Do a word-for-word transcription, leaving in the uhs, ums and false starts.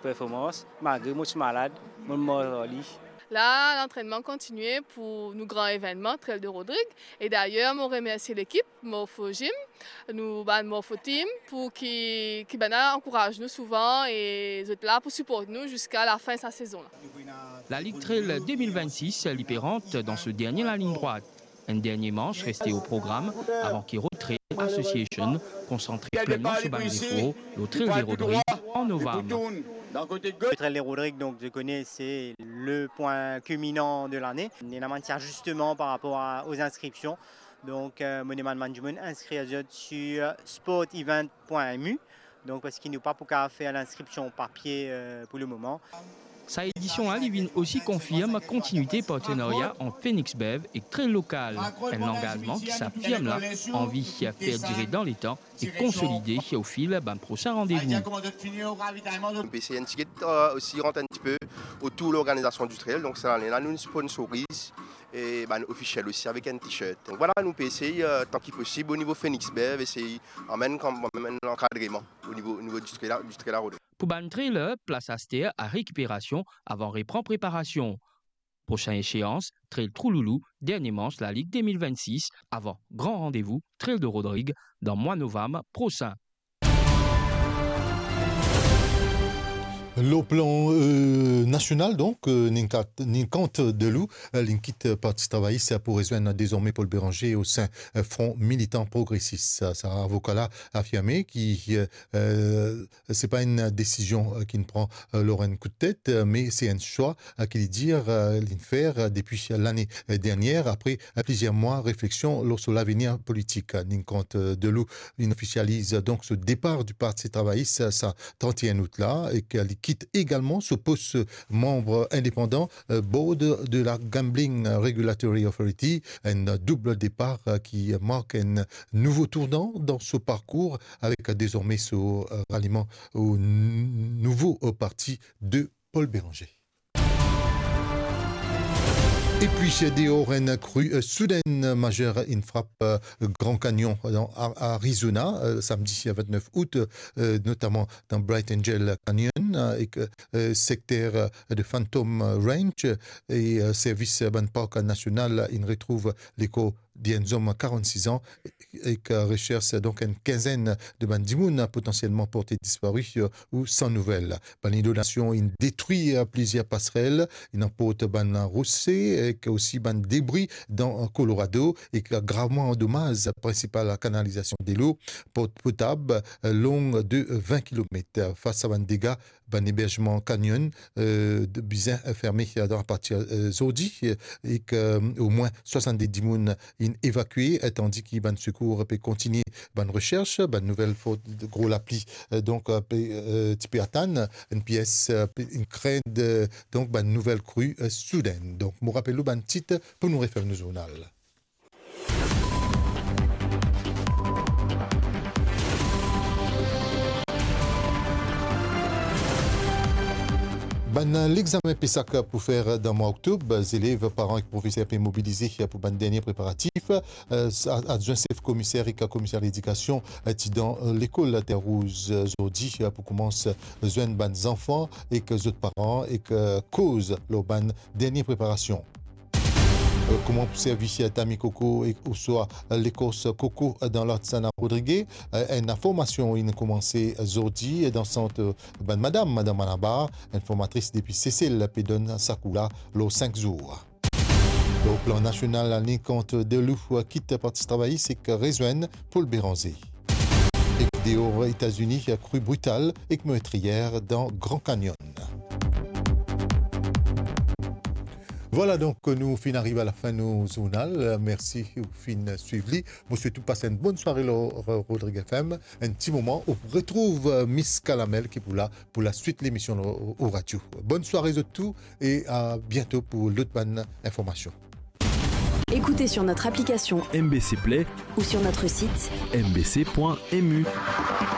Performans, malgre mo ti malad, mo mor ar li. La, lantrennman kontigne pou nou gran evennman, Trail de Rodrig. E dayer, mo remersie lekip Morpho Gym, nou bann Morpho Team, pou ki, ki bann la ankouraz nou souvan e zot la pou siport nou ziska lafin sa sezon la. Lalig Trail de mil vennsis, li pe rant dan so dernie lalign drwat. Enn dernie manch reste o program avan ki Road Trail Association konsantre plenman so bann zefor lor Trail de Rodrig an novam. Le Trail de Rodrig, donc, je connais, c'est le point culminant de l'année. Il y a un petit ajustement par rapport à, aux inscriptions. Donc, euh, mo demann bann dimoun inskrir zot sur sport event point M U. Donc, parski nou pa pou kapav fer linskripsion papie, euh, pou le moman. Sa edision la, li vinn osi konfirm kontinuite partenaria ant Phoenix Bev ek Trail Lokal, enn langazman ki sa firm la anvi fer dire dan letan e konsolide o fil bann prosin randevou. Nou pe esey enn tigit, euh, osi rant enn tipe otour lorganizasion di trail. Donk, sa lane la, nou sponsoriz e bann ofisiel osi avek enn t-shirt. Donk, vwala, nou pe esey, euh, tan ki posib, o nivo Phoenix Bev, esey amenn kanmem enn lankadreman o nivo, o nivo di trail la, di trail la, Rodrig. Pou bann trailer, plas aster a rekiperasion avan repran preparasion. Prosin eseans, Trail Trou Loulou, dernie manch lalig de mil vennsis, avan gran randevou Trail de Rodrig dan mwa novam prosin. Lor plan, euh, nasional, donk, euh, Ninkant, Ninkant Delou, euh, linn kit Parti Travayis pou rezwenn dezorme Paul Bérenger o sin, euh, Front Militant Progressis. Sa, sa avoka la afirme ki, euh, euh, se pa enn desizion, euh, ki'nn pran, euh, lor enn kout tet, euh, me se enn swa, euh, ki li dir, euh, li'nn fer, euh, depi lane, euh, dernier, apre, euh, plizier mwa refleksion lor so lavenir politik. Ninkant, euh, Delou, li'nn ofisializ, euh, donk so depar di Parti Travayis, euh, sa trant-e-enn out la, ek, euh, li kit egalman so pos, euh, manm indepandan, euh, board de la Gambling Regulatory Authority, enn doub depar, euh, ki mark enn nouvo tournan dan so parkour, avek dezorme so, euh, raliman o n-, nouvo, euh, parti de Paul Bérenger. Epi, deor enn kri, euh, soudinn mazer inn frap, euh, Grand Canyon, dan A-, Arizona, euh, samdi vintnef out, euh, notaman dan Bright Angel Canyon, euh, ek, euh, sekter, euh, de Phantom Range, e, euh, servis, euh, bann park nasional inn retrouv lekor di enn zom karann-sis an, ek, euh, resers, donk, enn kinzenn de bann dimoun potansielman porte dispari, euh, ou san nouvel. Bann inondasion inn detrir plizier pasrel, inn anport bann rose, ek osi bann debri dan Colorado, ek gravman andomaz prinsipal kanalizasion delo pot-, potab, long de vin kilomet. Fas a bann dega, bann eberzman Canyon, euh, de, bizin ferme, euh, apartir, euh, zordi, euh, ek, euh, omwin swasann-de dimoun inn evakue, euh, tandi ki bann sekour pe kontigne bann resers. Bann nouvel for gro lapli, euh, donk, euh, pe, euh, ti pe atann, enn pies, euh, pe, inn krent, euh, donk, bann nouvel kri, euh, soudinn. Donk, mo rapel ou bann tit pou nou referm nou zournal. Bann lexame PESAC pou fer dan mwa oktob, zelev, paran ek profeser pe mobilize pou bann dernie preparatif. Euh, sa, adwin sef komiser ek komiser ledikasion, euh, ti dan, euh, lekol Terre Rouge, euh, zordi, euh, pou koumans, euh, zwenn bann zanfan ek zot paran ek, euh, koz lor bann dernie preparasion. Euh, kouma pou servi tami koko ek ouswa lekors koko dan Latsana Rodriguez, euh, enn formasion inn koumanse zordi dan sant, euh, bann madam, Madam Malabar, enn formatris depi Sesel, pe donn sa kou la lor sink zour. Lor plan nasional, Ninkant Delou kit Parti Travayis ek rezwenn Paul Bérenger. Ek deor Etazini, kri brital ek mertriyer dan Grand Canyon. Vwala, donk, nou finn ariv a lafin nou zournal. Mersi ou finn swiv li. Mo swet ou pas enn bonn sware lor Rodrigues FM. Enn ti moman, ou retrouv Miss Kalamel ki pou la pou laswit lemision lor, o radio. Bonn sware zot tou e a biento pou lot bann informasion. Écoutez sur notre application M B C Play ou sur notre site M B C point M U.